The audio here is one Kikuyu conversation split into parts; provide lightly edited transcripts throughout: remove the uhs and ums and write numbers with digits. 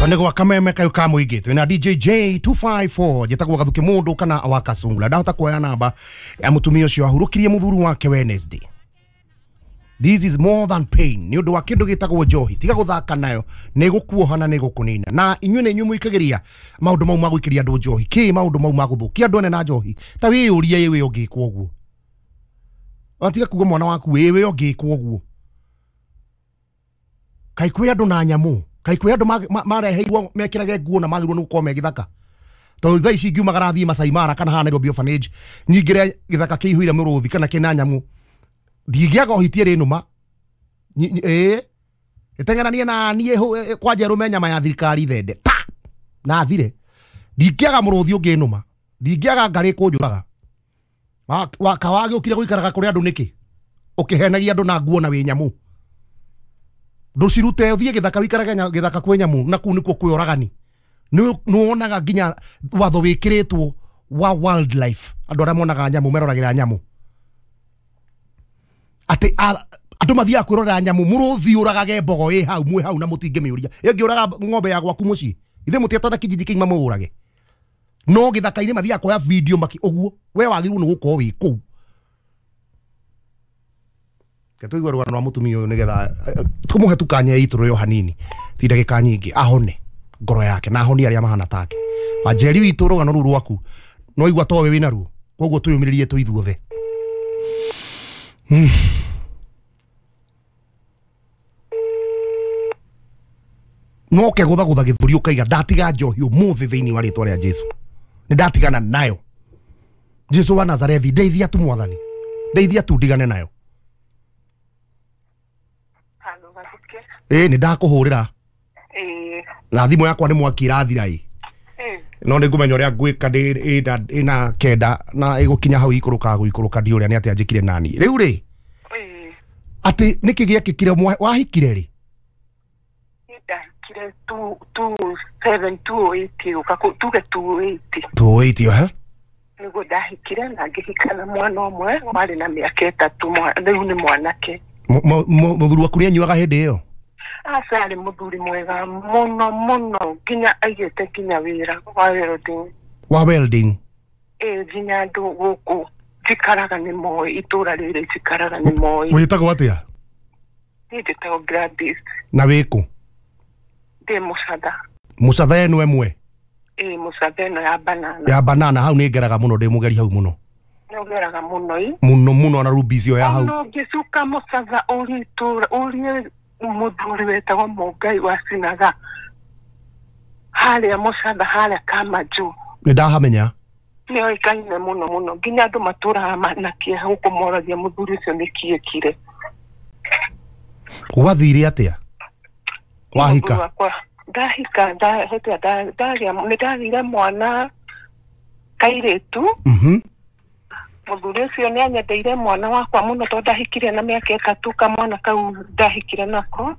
Nĩgwa kameme kayo ka mũingĩ twĩna DJ J254 njĩtagwo Gathuki mũndũ kana wa Kasungula. Ndahota kuoya namba ya mũtumia ũcio ahurũkirie mũthuri wake Wednesday. This is more than pain. Nĩ ũndũ wa kĩndũ gĩtagwo njohi. Tiga gũthaka nayo, nĩ gũkuoha na nĩ gũkũnina. Na inyuĩ nĩ inyuĩ mũikagĩria maũndũ mau ma gũikĩria andũ njohi. Kĩ maũndũ mau ma gũthũkia andũ ene na njohi. Ta wĩyũrie ĩ wĩ ũngĩkwo ũguo. Ona tiga kuga mwana waku ĩ wĩ ũngĩkwo ũguo. Kaĩ kwĩ andũ na nyamũ. Kaĩ kwĩ andũ mareheirwo mekĩrage nguo na magĩrĩirwo nĩ gũkorwo me gĩthaka. Tondũ thaa ici ingiumagara thiĩ Masai Mara kana haha Nairobi Orphanage nyingĩre gĩthaka kĩihũire mũrũthi kana kĩna nyamũ, ndingĩaga ũhitie rĩ nũma. Ĩĩ ĩteng'eranie na niĩ kwanja ĩrũme nyama ya thirikari thende ta na thire. Ndingĩaga mũrũthi ũngĩ nũma, ndingĩaga ngarĩ kũnjũraga. Wagĩũkire gũikaraga kũrĩ andũ nĩkĩ? Ũkĩhenagia andũ na nguo na wĩ nyamũ. Ndũcirute ũthiĩ gĩthaka wĩikarage gĩthaka kwĩ nyamũ, na kũu nĩkuo kwĩ oragani. Nĩwonaga nginya watho wĩkĩrĩtwo wa wildlife, andũ arĩa monaga nyamũ meroragĩra nyamũ. Atĩ andũ mathiaga kwĩrorera nyamũ, mũrũthi ũragage mbogo ĩ hau mwĩ hau na mũtingĩmĩũria. Ĩngĩũraga ng'ombe ya gwaku mũciĩ, ithuĩ mũtietana kijiji kĩgima mũũrage. No gĩthaka-inĩ mathiaga kuoya video maki ũguo, we wagĩrĩirwo nĩ gũkorwo wĩ kũu. Reke tũigue rũgano rwa mũtumia ũyũ nĩgetha tũmũhe tu kanya itũrũyo hanini, ti ndagĩka nyingĩ, ahone ngoro yake na ahonie arĩa mahana take. Wanjeri witũ rũgano rũu rwaku no igua towe wĩna ruo, koguo twĩyũmĩrĩrie twĩ ithuothe. No ũkegũthagũtha gĩthũri ũkaiga ndatiga njohi ũmũthĩ thĩinĩ wa rĩtwa rĩa Jesu. Nĩ ndatigana nayo. Jesu wa Nazarethi, ndeithia tu mwathani. Ndeithia tu ndigane nayo. Ĩĩ nĩ ndakũhũrĩra. Na thimũ yakwa nĩ mwaki ĩrathira ĩ. No nĩ ngũmenya ũrĩa ngwĩka ĩna kenda na ĩgũkinya hau ikũrũkaga gũikũrũka ndiũĩ ũrĩa nĩ atĩa njĩkire nani. Rĩu rĩ, atĩ nĩkĩ gĩekĩkire wahikire rĩ? Ndahikire 27 280 tuge 280. 280 ha? Nĩguo ndahikire na ngĩhika na mwana ũmwe warĩ na mĩaka 3, rĩu nĩ mwanake. Mũthuri waku nĩanyuaga hĩndĩ ĩyo? Aca, arĩ mũthuri mwega mũno mũno, nginya aigĩte nginya wĩra wa welding. Wa welding? Ĩĩ, nginya andũ gũkũ njikaraga nĩ moĩ, itũra rĩrĩ njikaraga nĩ moĩ. Wĩtagwo atĩa? Niĩ njĩtagwo Gladys. Na wĩkũ? Ndĩ Mũcatha. Mũcatha ĩno ĩmwe? Ĩĩ, Mũcatha ĩno ya banana. Ya banana, hau nĩ ngeraga mũno, ndĩ mũgeri hau mũno. Nĩ ũgeraga mũno ĩ? Mũno mũno, na rubi icio ya hau. Ona ũngĩcuka Mũcatha ũrie itũra, ũrie mũthuri wetagwo Mũngai wa Sinaga harĩa Mũcatha, harĩa Kamanjũ. Nĩ ndahamenya. Nĩ oĩkaine mũno mũno, nginya andũ matũraga na kĩeha gũkũ moragia mũthuri ũcio nĩ kĩ ekire. Gwathire atĩa? Wahika? Ndahika, nĩ ndagĩire mwana kairĩtu. Mũthuri ũcio nĩ anyendeire mwana wakwa mũno tondũ ndahikire na mĩaka 3, kamwana kau ndahikire nako.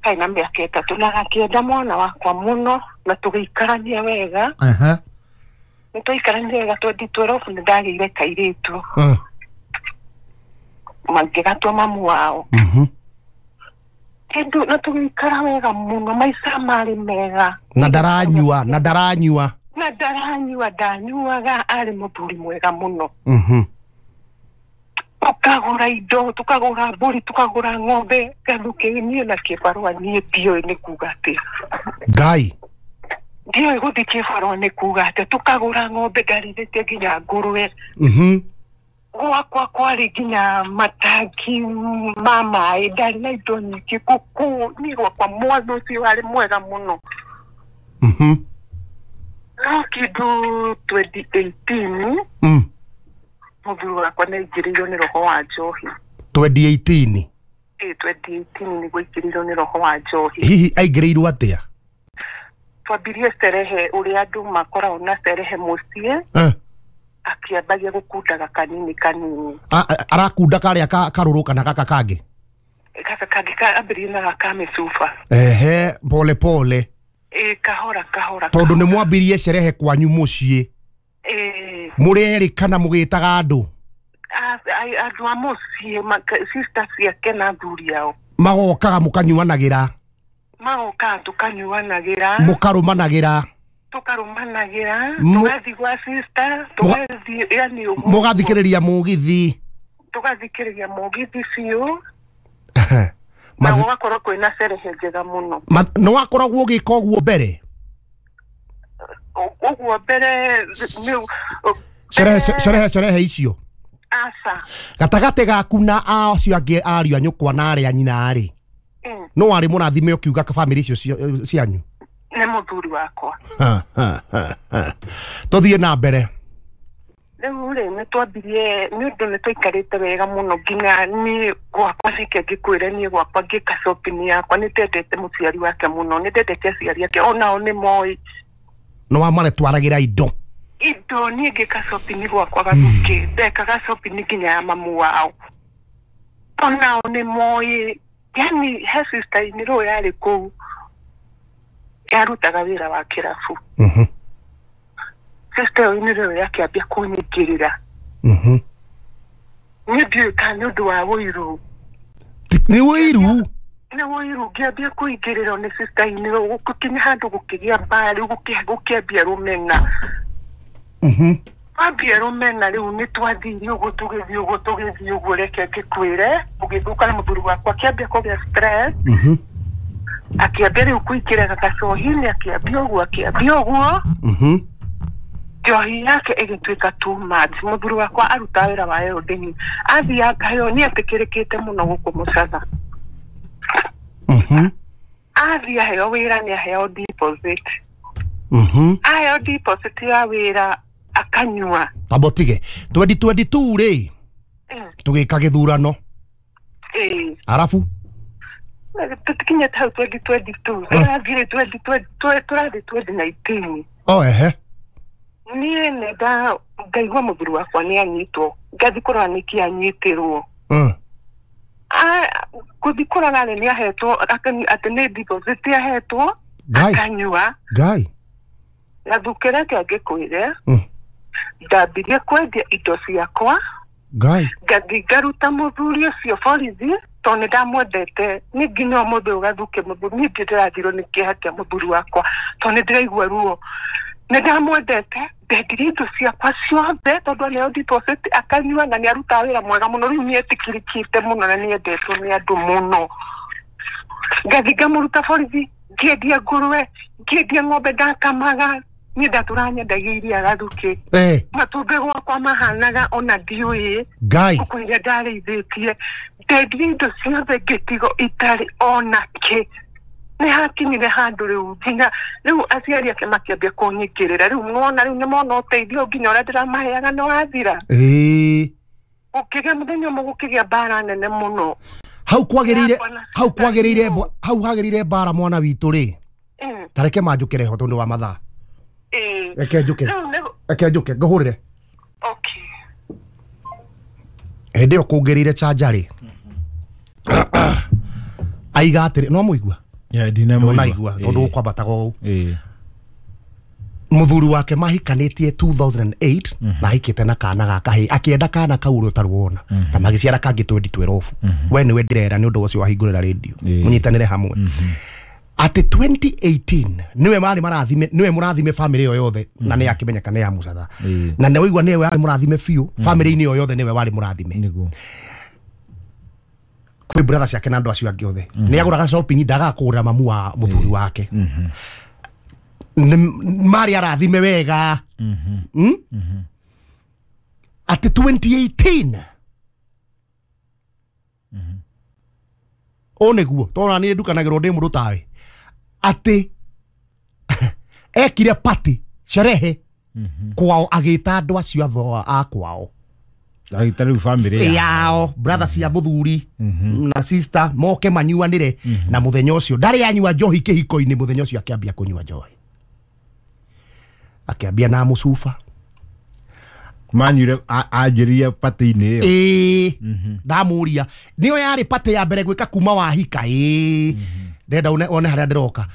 Karĩ na mĩaka 3 na gakĩenda mwana wakwa mũno na tũgĩikarania wega. Nĩ twaikarania wega 2012 nĩ ndagĩire kairĩtu. Mangĩgatua mamu wao. Kĩndũ na tũgĩikara wega mũno, maica marĩ mega. Na ndaranyua, na ndaranyua. Na ndaranyua, ndanyuaga, arĩ mũthuri mwega mũno. Tukagũra indo, tukagũra mbũri, tukagũra ng'ombe, Gathuki niĩ na kĩbarũa niĩ ndiũĩ nĩ kuga atĩa. Ngai. Ndiũĩ gũthiĩ kĩbarũa nĩ kuga atĩa, tukagũra ng'ombe, ndarĩithĩtie nginya ngũrwe. Gwakwa kwarĩ nginya matangi ma maĩ, ndarĩ na indo nyingĩ, ngũkũ, niĩ gwakwa mwana ũcio warĩ mwega mũno. No kĩndũ 2018 mũthuri wakwa nĩ aingĩrĩirwo nĩ roho wa njohi. 2018? Ĩĩ, 2018 nĩguo aingĩrĩirwo nĩ roho wa njohi. Hihi aingĩrĩirwo atĩa? Twambirie cerehe ũrĩa andũ makoragwo na cerehe mũciĩ. Akĩambagia gũkundaga kanini kanini. Arakunda karĩa karũrũ kana gaka kangĩ? Gaka kangĩ ambĩrĩrie na gaka mĩcuba. Ehe, pole pole. Ĩĩ, kahora kahora. Tondũ nĩ mwambirie cerehe kwanyu mũciĩ. Ĩĩ. Mũrerĩ kana mũgĩtaga andũ? Andũ a mũciĩ, sister ciake na athuri ao. Magokaga mũkanyuanagĩra. Magoka tukanyuanagĩra. Mũkarũmanagĩra. Tukarumanagĩra, tũgathiĩ gwa sister, tũgathiĩ yani ũguo. Mũgathikĩrĩria mũgithi. Tũgathikĩrĩria mũgithi biũ. Na gũgakorwo kwĩna cerehe njega mũno. Nĩ wakoragwo ũgĩka ũguo mbere? Ũguo mbere cerehe icio. Aca. Gatagatĩ gaku na acio angĩ ariũ a nyũkwa na arĩa nyina rĩ, no warĩ mũrathime ũkiuga bamĩrĩ icio cianyu? Nĩ mũthuri wakwa. Tũthiĩ na mbere. Rĩu rĩ nĩ twambirie nĩ ũndũ nĩ twaikarĩte wega mũno nginya niĩ gwakwa reke ngĩkwĩre niĩ gwakwa ngĩka shopping yakwa nĩ ndendete mũciari wake mũno, nĩ ndendete aciari ake onao nĩ moĩ. Nĩ wamaretwaragĩra indo? Indo niĩ ngĩka shopping gwakwa Gathukĩ, ndekaga shopping nginya ya mamu wao. Onao nĩ moĩ, yani he sister inĩ rũĩ yarĩ kũu yarutaga wĩra wa kĩrabu. Sister ĩyo nĩ yakĩambia kũnyingĩrĩra. Niĩ ndiũĩ kana nĩ ũndũ wa ũiru. Nĩ ũiru? Nĩ ũiru ngĩambia kũingĩrĩrwo nĩ sister inĩ gũkinya handũ gũkĩgĩa mbara rĩu gũkĩambia rũmena. Twambia rũmena rĩu nĩ twathire ũguo tũgĩthiĩ ũguo tũgĩthiĩ ũguo reke ngĩkwĩre ũgĩthũka na mũthuri wakwa akĩambia kũgĩa stress. Akĩambia rĩu kũingĩra gacohi-inĩ akĩambia ũguo akĩambia ũguo. Njohi yake ĩgĩtuĩka too much. Mũthuri wakwa arutaga wĩra wa welding. Athiaga yo nĩ etĩkĩrĩkĩte mũno gũkũ Mũcatha. Athiĩ aheo wĩra nĩ aheo deposit. Aheo deposit ya wĩra akanyua. Tamba ũtige 2022 rĩ tũgĩka gĩthurano. Arabu tũtikinyĩte hau 2022 tũrathire 2020 tũrathiĩ 2019. Oh ehe. Niĩ nenda ngaigua mũthuri wakwa nĩ anyitwo ngathiĩ kũrora nĩkĩ anyitĩrwo. Gũthiĩ kũrora rĩ nĩ ahetwo atĩ nĩ deposit ahetwo akanyua. Ngai. Gathukĩ reke ngĩkwĩre ndambirie kwendia indo ciakwa. Ngai. Ngathiĩ ngaruta mũthuri ũcio borithi tondũ nĩ ndamwendete. Niĩ nginya ũmũthĩ ũyũ Gathukĩ mũthuri niĩ ndĩrathirwo nĩ kĩeha kĩa mũthuri wakwa tondũ nĩ ndĩraigua ruo. Nĩ ndamwendete ndendirie indo ciakwa ciothe tondũ aneo deposit akanyua na nĩ arutaga wĩra mwega mũno rĩu nĩ etĩkĩrĩkĩte mũno na nĩ endetwo nĩ andũ mũno. Ngathiĩ ngamũruta borithi ngĩendia ngũrwe ngĩendia ng'ombe ndakamaga niĩ ndatũraga nyendagia iria Gathukĩ. Matumbĩ gwakwa mahanaga ona ndiũĩ. Ngai. Ngũkũ iria ndarĩithĩtie ndendirie indo ciothe ngĩtigwo itarĩ ona kĩ. Nĩ hakinyire handũ rĩu nginya rĩu aciari ake makĩambia kũnyingĩrĩra rĩu nĩwona rĩu nĩmona ũteithio nginya ũrĩa ndĩramaheaga nĩ wathira. Gũkĩgĩa mũthenya ũmwe gũkĩgĩa mbara nene mũno. Hau kwagĩrĩire hau kwagĩrĩire hau hagĩrĩire mbara mwana witũ rĩ. Ta reke manjũkĩre ho tondũ wa mathaa. Reke njũke. Reke njũke ngũhũrĩre. Okay. Hĩndĩ ĩyo kũngĩrĩire chanja rĩ. Aiga atĩrĩ no mũigua? Ndinaigua tondũ gũkwambataga ũũ. Mũthuri wake mahikanĩtie 2008 na ahikĩte na kana ga kahĩĩ akĩenda kana kau ũrĩa ũtarĩ wona na magĩciara kangĩ 2012. We nĩwe ndĩrera nĩ ũndũ ũcio wahingũrĩra rĩndio mũnyitanĩre hamwe. Atĩ 2018 nĩwe marĩ marathime nĩwe mũrathime famĩlĩ ĩyo yothe na nĩ akĩmenyeka nĩ ya Mũcatha na nĩ waigua nĩwe warĩ mũrathime biũ famĩlĩ-inĩ ĩyo yothe nĩwe warĩ mũrathime. Kwĩ brother ciake na andũ acio angĩ othe nĩ agũraga shopping ndagaga kũgũrĩra mamu wa mũthuri wake. Marĩ arathime wega. Atĩ 2018 ũũ nĩguo tondũ niĩ ndukanagĩrwo ndĩ mũndũ tawe atĩ ekire party sherehe kwao agĩta andũ acio atho a kwao agĩta rĩu famĩlĩ yao brother cia mũthuri na sister moke manyuanĩre na mũthenya ũcio ndarĩ anyua njohi kĩhiko-inĩ mũthenya ũcio akĩambia kũnyua njohi akĩambia na mũcuba manyuire anjĩrĩria party-inĩ ĩyo. Ĩĩ ndamũria nĩyo yarĩ party ya mbere gwĩka kuma wahika. Ĩĩ ndenda one harĩa ndĩroka.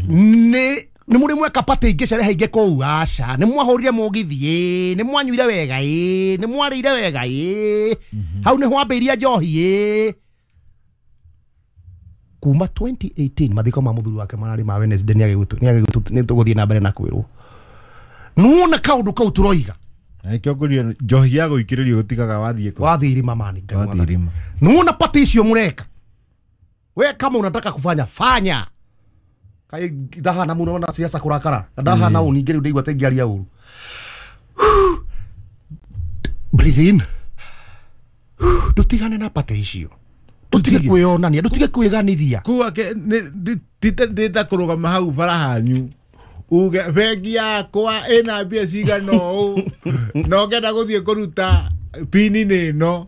Nĩ mũrĩ mweka party ingĩ cerehe ingĩ kũu? Aca. Nĩ mwahũrire mũgithi? Ĩĩ. Nĩ mwanyuire wega? Ĩĩ. Nĩ mwarĩire wega? Ĩĩ. Hau nĩ hwambĩirie njohi? Ĩĩ. Kuma 2018 mathiko ma muthuri wake marari ma Wednesday ni tũgũthiĩ na mbere na kwĩrwo. Nuona kaũndũ kau tũroiga. Nakĩo ngũria njohi ya gũikĩrĩrio gũtigaga wathiĩ kũ? Wathiĩ irima mani. Wathiĩ irima. Nuona pati icio mũreka. We kama unataka kufanya fanya. Kai ndahana muno na siasa kurakara. Ndahana ũ ningĩ rĩu ndaigua ta ingĩaria ũru. Breathe in. Ndutigane na pati icio. Ndutige kwĩyonania, ndutige kwĩganithia. Kuga ndĩta kũrũgama hau bara hanyu. Uge bengi yakwa ĩna mbia cigana ũũ na ũngĩenda gũthiĩ kũruta pini nĩ ĩno.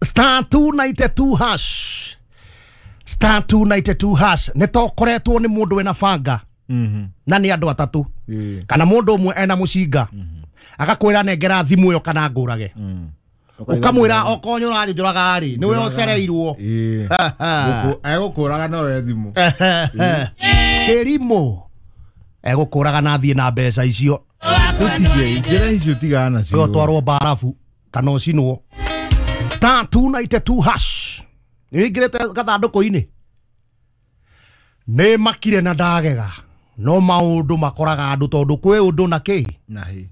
Star 292 hash. Star 292 hash. Nĩ tokoretwo nĩ mũndũ wĩna banga. Na nĩ andũ atatũ. Kana mũndũ ũmwe ena mũcinga. Agakwĩra nengera thimũ ĩyo kana ngũrage. Ukamwĩra okorwo nĩ ũranjũraga rĩ nĩwe ũcereirwo. Egũkũraga no we thimũ. Kĩrimũ egũkũraga na athiĩ na mbeca icio. Tũtige njĩra icio tigana nacio. Ũtwarwo mbarabu kana ũcinwo. Star 292 hash. Nĩ wĩingĩrĩte gathandũkũ-inĩ. Nĩ makire na ndagega no maũndũ makoraga andũ tondũ kwĩ ũndũ na kĩ na hĩ.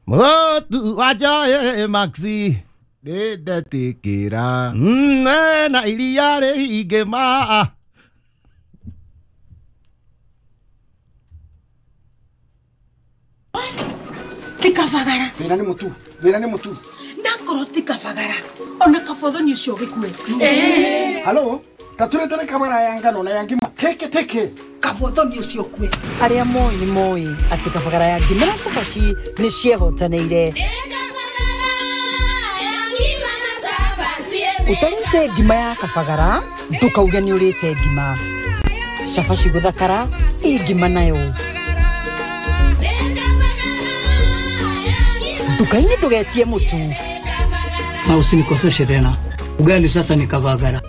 Mũtu wajae maxi nĩndetikĩra na iria rĩingĩ ma. Tikabagara. Thĩna nĩ mũtu, thĩna nĩ mũtu. Nakorwo tikabagara. Ona kabothoni ũcio ũgĩkue. Halo, taturetere kabara ya ngano na ya ngima. Teke teke. Kabothoni ũcio ũkue. Arĩa moĩ nĩ moĩ atĩ kabagara ya ngima na cabaci nĩ ciehotanĩire. Ũtarĩte ngima ya kabagara ndũkauge nĩ ũrĩte ngima. Cabaci gũthakara ĩ ngima nayo. Nduka-inĩ ndũgetie mũtu. Na usinikoseshe tena. Ugali sasa ni kabagara.